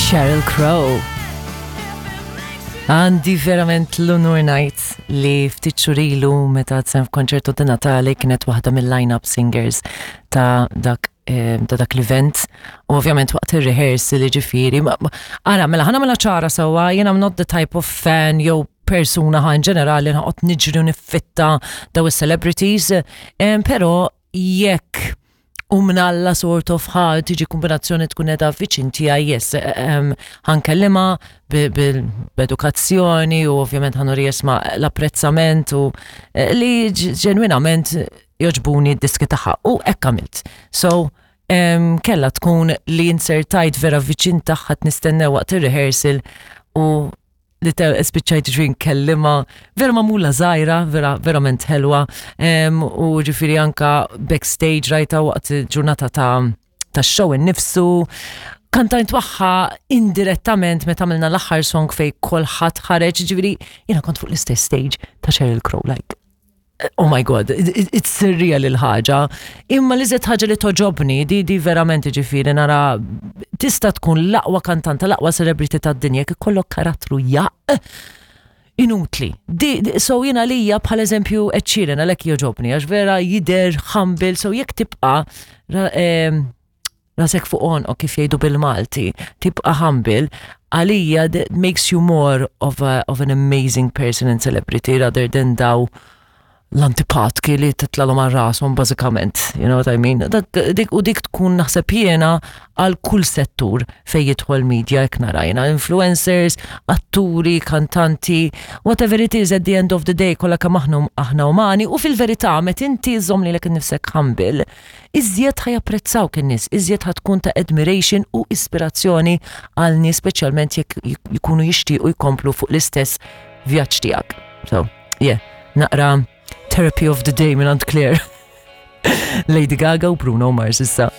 Sheryl Crow. Għandi verament l-unur ngħid li ftit xhur ilu meta sem f'konċertu di Natale kienet waħda mill-line-up singers ta' dak eh, ta' dak l-event u ovvjament waqt ir-rehearsal ġifieri. Ara, mela ħana mela ċara sewwa, jien I'm not the type of fan jew persuna ħa in ġenerali nħoqgħod niġri u niffitta daw is-celebrities, eh, però jekk u mnalla sort of ħa tiġi kombinazzjoni tkun edha viċin tiegħi yes, ħankellima b'edukazzjoni u ovvjament ħanuri jesma l-apprezzament u eh, li ġenwinament joġbuni d-diski tagħha u hekk għamilt. So, kella tkun li insertajt vera viċin tagħha nistennew waqt ir-rehearsal u li spiċċajt ġri nkellima, vera mamula zaħira, vera verament ħelwa, u ġifiri anka backstage rajta waqt ġurnata ta' ta' show innifsu. Kantajt waħħa indirettament meta għamilna l-aħħar song fej kolħadd ħareġ, ġifiri jiena kont fuq l-istess stage ta' Sheryl Crow, like Oh my god, it's surreal il-ħaġa. Imma li zed ħaġa li toġobni, di di verament ġifiri nara tista' tkun l-aqwa kantanta, l-aqwa celebrity tad-dinja, kif kollok karattru jaq inutli. Di, di, so jina lija bħal eżempju Ed Sheeran għalhekk joġobni, għax vera jider humble, so jekk tibqa' eh, rasek fuq għonqok kif jgħidu bil-Malti, tibqa' humble, għalija that makes you more of, a, of an amazing person and celebrity rather than daw l-antipatki li titlalhom għal rashom bażikament, you know what I mean? Dak, dik, u dik tkun naħseb jiena għal kull settur fej jidħol media jekk narajna, influencers, atturi, kantanti, whatever it is at the end of the day kollha kemm aħna aħna umani u fil-verità meta inti żomm lilek innifsek humble, iżjed ħa japprezzawk in-nies, iżjed ħa tkun ta' admiration u ispirazzjoni għal nies speċjalment jekk jkunu jixtiequ jkomplu fuq l-istess vjaġġ tiegħek. So, yeah, naqra therapy of the day minn Claire. Lady Gaga u Bruno Mars issa.